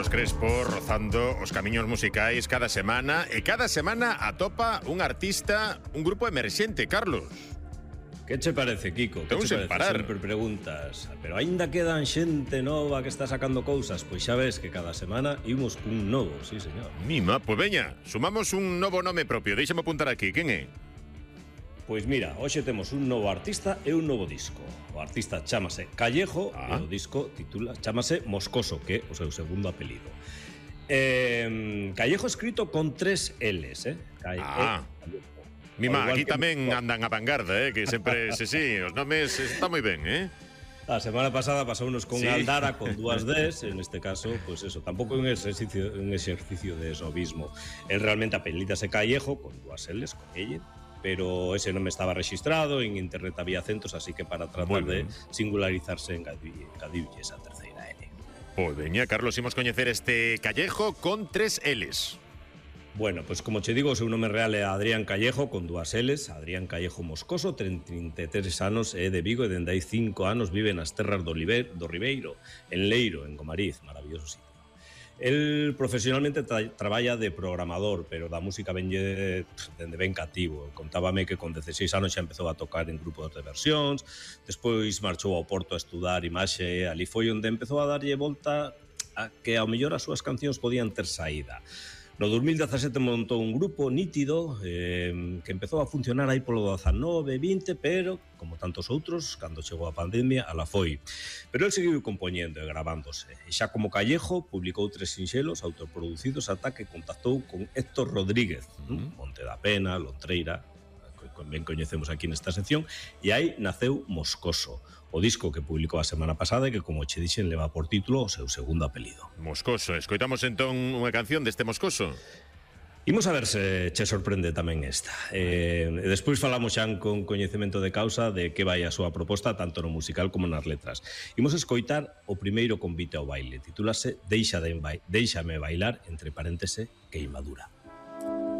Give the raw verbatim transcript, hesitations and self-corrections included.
Carlos Crespo rozando os camiños musicais cada semana e cada semana atopa un artista, un grupo emerxente, Carlos. Que che parece, Kiko? Que Ten che sen parece? parar. Sempre preguntas. Pero aínda quedan xente nova que está sacando cousas. Pois xa ves que cada semana imos cun novo, sí, señor. Mima, pois veña, sumamos un novo nome propio. Deixame apuntar aquí, quen é? Pois mira, hoxe temos un novo artista e un novo disco. O artista chámase Callejo ah. e o disco titula chámase Moscoso, que é o seu segundo apelido. Eh, Callejo escrito con tres L's, eh? Calle, ah. eh, Mima, aquí que tamén andan a vanguarda, eh? Que sempre, sí, sí, os nomes está moi ben, eh? A semana pasada pasounos con sí. Aldara con dúas Ds, en este caso, pues eso, tampouco é un exercicio, un exercicio de esnovismo. El realmente apelídase Callejo con dúas L's, con ella, pero ese non me estaba registrado, en internet había acentos, así que para tratar de singularizarse engadiulle esa terceira L. Pois veña, Carlos, imos coñecer este Callejo con tres L's. Bueno, pues como che digo, o seu nome real é Adrián Callejo, con dúas L's, Adrián Callejo Moscoso, ten trinta e tres anos, é de Vigo e dende hai cinco anos vive nas terras do, Oliver, do Ribeiro, en Leiro, en Gomariz, maravilloso sitio. El profesionalmente tra traballa de programador, pero da música venlle dende ben cativo. Contábame que con dezaseis anos xa empezou a tocar en grupos de versións, despois marchou ao Porto a estudar imaxe, ali foi onde empezou a darlle volta a que ao mellor as súas cancións podían ter saída. No dos mil dezasete montou un grupo nítido eh, que empezou a funcionar aí polo dezanove, vinte, pero, como tantos outros, cando chegou a pandemia, ala foi. Pero el seguiu compoñendo e gravándose. E xa como Callejo, publicou tres sinxelos autoproducidos ata que contactou con Héctor Rodríguez, uh-huh. Monte da Pena, Lontreira, que ben coñecemos aquí nesta sección, e aí naceu Moscoso, o disco que publicou a semana pasada e que, como che dixen, leva por título o seu segundo apelido. Moscoso, escoitamos entón unha canción deste Moscoso. Imos a ver se che sorprende tamén esta. Eh, e despois falamos xa con coñecemento de causa de que vai a súa proposta tanto no musical como nas letras. Imos escoitar o primeiro convite ao baile. Titúlase Deixa de Déixame bailar, entre paréntese, queimadura.